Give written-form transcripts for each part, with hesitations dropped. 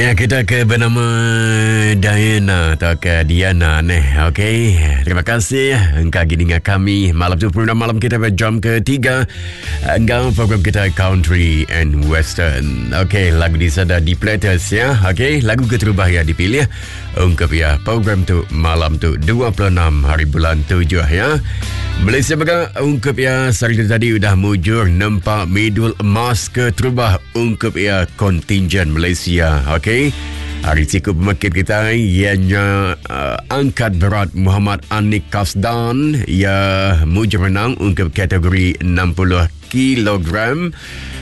Ya kita ke bernama Diana atau ke Diana neh. Okey. Terima kasih engkau lagi dengar kami malam tu program malam kita pada jam ketiga enggau program kita Country and Western. Okey, lagu di sada di Platters ya. Okey, lagu keterubah yang dipilih ungkup ya program tu malam tu 26 hari bulan 7 ya. Malaysia mega ungkup ya sehari tadi udah mujur nempa medal emas keterubah ungkup iya kontingen Malaysia. Okey. Hari siku pemekit kita ianya uh, angkat berat Muhammad Anik Kasdan ia mujur menang ungkup kategori 60 kilogram.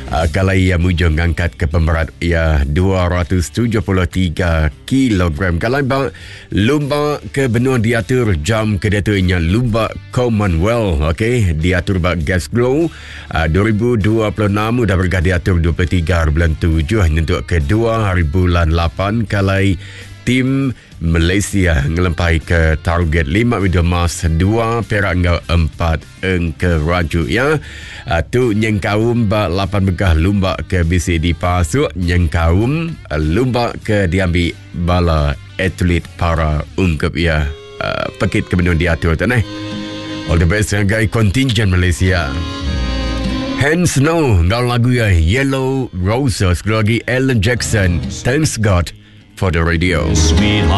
Uh, kalau ia mujur ngangkat ke pemberat ia 273 kilogram. Kalau ba Lumba ke benua diatur jam ke diatu nya Lumba Commonwealth okey diatur ba Glasgow uh, 2026 udah bergah diatur 23 hari bulan 7 nyentuk ke 2 hari bulan 8 kalai tim Malaysia ngelempai ke target 5 medal emas, 2 perak enggau 4 engkeraju ya. Uh, tu nyengkaum ba 8 begah lumba ke bisi dipasuk nyengkaum uh, lumba ke diambi bala atlet para ungkup ya. Uh, pekit ke benung diatur tu neh. All the best ngagai kontingen Malaysia. Hands Snow enggau lagu ya Yellow Roses sekali lagi Alan Jackson. Thanks God for the radio. Sweetheart.